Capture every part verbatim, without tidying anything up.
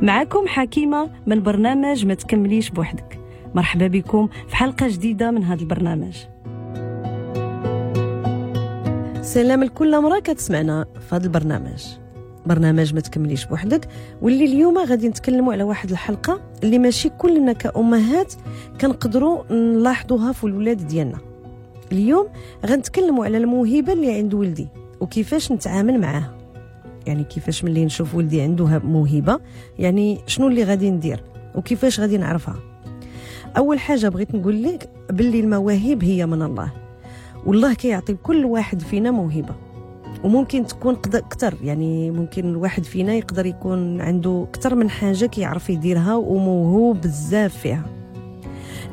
معكم حكيمة من برنامج ما تكمليش بوحدك. مرحبا بكم في حلقة جديدة من هذا البرنامج. سلام لكل امرأة كتسمعنا في هذا البرنامج، برنامج ما تكمليش بوحدك، واللي اليوم غادي نتكلموا على واحد الحلقة اللي ماشي كلنا كأمهات كنقدروا نلاحظوها في الولاد ديالنا. اليوم غنتكلموا على الموهبة اللي عند ولدي وكيفاش نتعامل معاها، يعني كيفاش ملي نشوف ولدي عنده موهبة يعني شنو اللي غادي ندير وكيفاش غادي نعرفها. أول حاجة بغيت نقول لك باللي المواهب هي من الله، والله كيعطي كل واحد فينا موهبة، وممكن تكون أكثر، يعني ممكن الواحد فينا يقدر يكون عنده أكثر من حاجة كيعرف يديرها وموهوب بزاف فيها.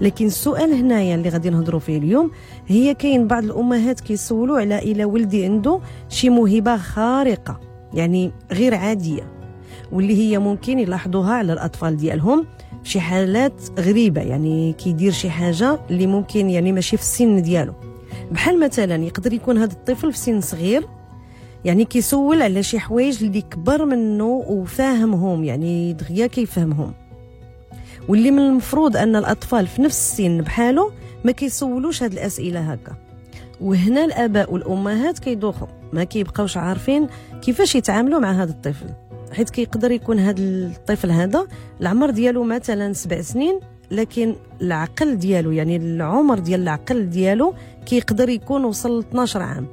لكن السؤال هنايا اللي غادي نهضروا فيه اليوم هي كاين بعض الأمهات كيسولوا على إلا ولدي عنده شي موهبة خارقة يعني غير عادية، واللي هي ممكن يلاحظوها على الأطفال ديالهم في شي حالات غريبة، يعني كيدير شي حاجة اللي ممكن يعني ماشي في السن ديالو. بحال مثلا يقدر يكون هذا الطفل في سن صغير يعني كيسول على شي حوايج اللي كبر منه وفاهمهم، يعني دغيا كيفهمهم، واللي من المفروض ان الاطفال في نفس السن بحاله ما كيسولوش هاد الاسئلة هكا. وهنا الاباء والامهات كيدوخوا، ما كيبقاوش عارفين كيفاش يتعاملوا مع هذا الطفل، حيت كيقدر يكون هذا الطفل هذا العمر ديالو مثلا سبع سنين، لكن العقل ديالو يعني العمر ديال العقل ديالو كيقدر يكون وصل ل اثنا عشر عام.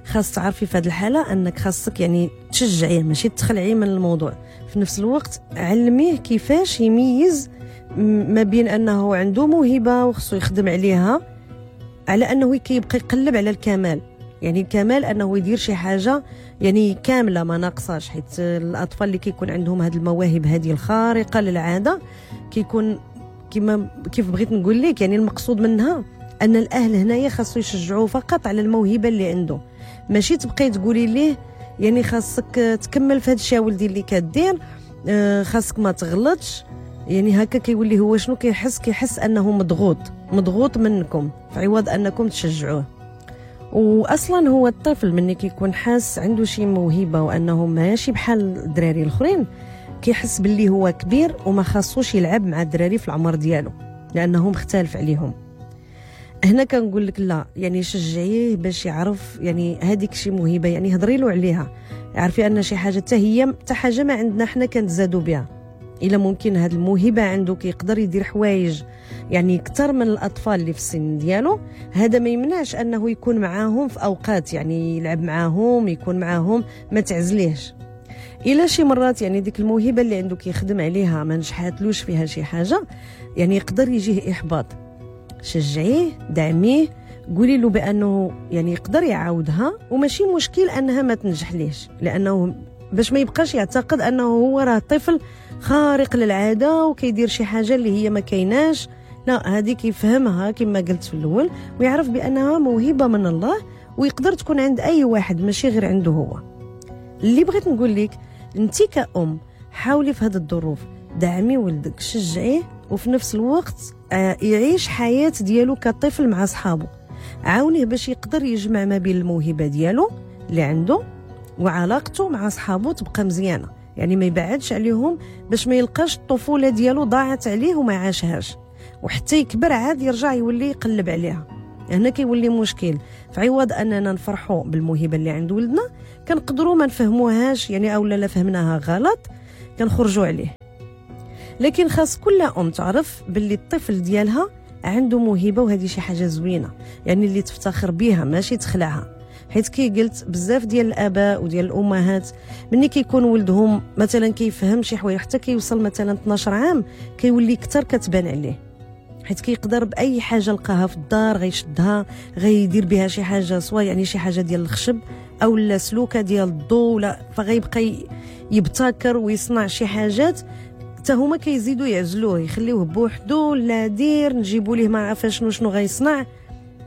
خاص تعرفي في هذه الحالة انك خاصك يعني تشجعيه ماشي تخلعيه من الموضوع، في نفس الوقت علمية كيفاش يميز ما بين انه عنده موهبة وخصو يخدم عليها، على انه كيبقى يقلب على الكمال، يعني الكمال انه يدير شي حاجة يعني كاملة ما ناقصاش. حيت الاطفال اللي كيكون عندهم هذه المواهب هذه الخارقة للعادة كيكون كما كيف بغيت نقول لك، يعني المقصود منها ان الاهل هنايا خاصو يشجعوه فقط على الموهبة اللي عنده، ماشي تبقاي تقولي ليه يعني خاصك تكمل في هذا الشيء ولدي اللي كدير، خاصك ما تغلطش. يعني هكا كيولي هو شنو كيحس؟ كيحس انه مضغوط، مضغوط منكم في عوض انكم تشجعوه. واصلا هو الطفل مني كيكون حاس عنده شي موهبة وانه ماشي بحال الدراري الاخرين، كيحس باللي هو كبير وما خاصوش يلعب مع الدراري في العمر ديالو لانه مختلف عليهم. هنا كنقول لك لا، يعني شجعيه باش يعرف يعني هذيك شي موهبة، يعني هضري له عليها، عرفي ان شي حاجة حتى هي حتى حاجة ما عندنا حنا كنتزادوا بها. الا ممكن هذه الموهبة عنده كيقدر يدير حوايج يعني اكثر من الاطفال اللي في السن ديالو، هذا ما يمنعش انه يكون معاهم في اوقات، يعني يلعب معاهم، يكون معاهم، ما تعزليهش. الا شي مرات يعني ديك الموهبة اللي عنده كيخدم عليها ما نجحاتلوش فيها شي حاجة، يعني يقدر يجيه احباط. شجعيه، دعميه، قولي له بانه يعني يقدر يعاودها وماشي مشكل انها ما تنجح ليش، لانه باش ما يبقاش يعتقد انه هو راه طفل خارق للعادة وكيدير شي حاجة اللي هي ما كايناش. لا، هذه كيفهمها كما قلت في الاول، ويعرف بانها موهبة من الله ويقدر تكون عند اي واحد ماشي غير عنده هو. اللي بغيت نقول لك انت كأم حاولي في هذه الظروف دعمي ولدك، شجعيه، وفي نفس الوقت يعيش حياة ديالو كطفل مع صحابه. عاونيه باش يقدر يجمع ما بين الموهبة ديالو اللي عنده وعلاقته مع صحابه تبقى مزيانة، يعني ما يبعدش عليهم باش ما يلقاش الطفولة ديالو ضاعت عليه وما عاشهاش، وحتى يكبر عاد يرجع يولي يقلب عليها. هنا كيولي مشكل. فعوض اننا نفرحوا بالموهبة اللي عند ولدنا كنقدروا ما نفهموهاش يعني، او لا فهمناها غلط كنخرجوا عليه. لكن خاص كل ام تعرف باللي الطفل ديالها عنده موهبة، وهذه شي حاجة زوينة يعني اللي تفتخر بها ماشي تخلعها. حيت كي قلت بزاف ديال الاباء وديال الامهات مني كيكون ولدهم مثلا كيفهم شي حوايج حتى كيوصل مثلا اثنا عشر عام كيولي اكثر كتبان عليه، حيت كيقدر باي حاجة لقاها في الدار غيشدها غيدير بها شي حاجة، سواء يعني شي حاجة ديال الخشب او لا سلوكه ديال الضو، ولا فغيبقى يبتكر ويصنع شي حاجات حتى هما كيزيدوا يعزلوه يخليوه بوحدو، لا دير نجيبوا ليه ما عارفه شنو شنو غيصنع.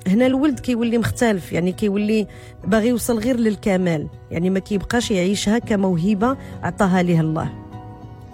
هنا الولد كيولي مختلف، يعني كيولي باغي يوصل غير للكمال، يعني ما كيبقاش يعيشها كموهبه عطاها ليه الله.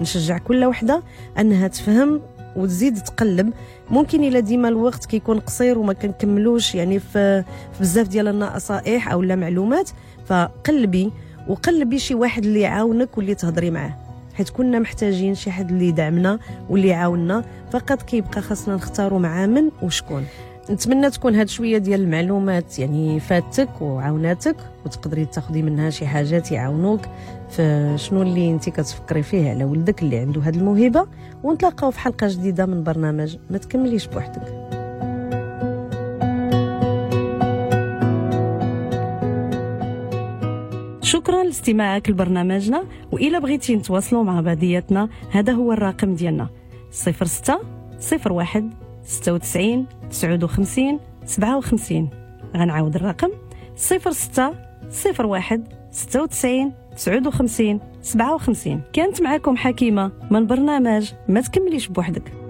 نشجع كل وحده انها تفهم وتزيد تقلب. ممكن الا ديما الوقت كيكون قصير وما كنكملوش يعني في بزاف ديال النصائح او لا معلومات، فقلبي وقلبي شي واحد اللي يعاونك واللي تهضري معاه. حيت كنا محتاجين شي حد اللي يدعمنا واللي يعاوننا. فقط كيبقى خاصنا نختاروا مع من وشكون. نتمنى تكون هاد شوية ديال المعلومات يعني فاتك وعاوناتك، وتقدري تاخدي منها شي حاجات يعاونوك في شنو اللي انت كتفكري فيه على ولدك اللي عنده هاد الموهبة. ونتلاقاو في حلقة جديدة من برنامج ما تكمليش بوحدك. شكرا لاستماعك لبرنامجنا، وإلا بغيتي نتواصلوا مع بعضياتنا هذا هو الرقم ديالنا صفر ستة صفر واحد ستة وتسعين تسعة وخمسين سبعة وخمسين. غنعاود الرقم صفر ستة صفر واحد ستة وتسعين تسعة وخمسين سبعة وخمسين. كانت معكم حكيمة من برنامج ما تكمليش بوحدك.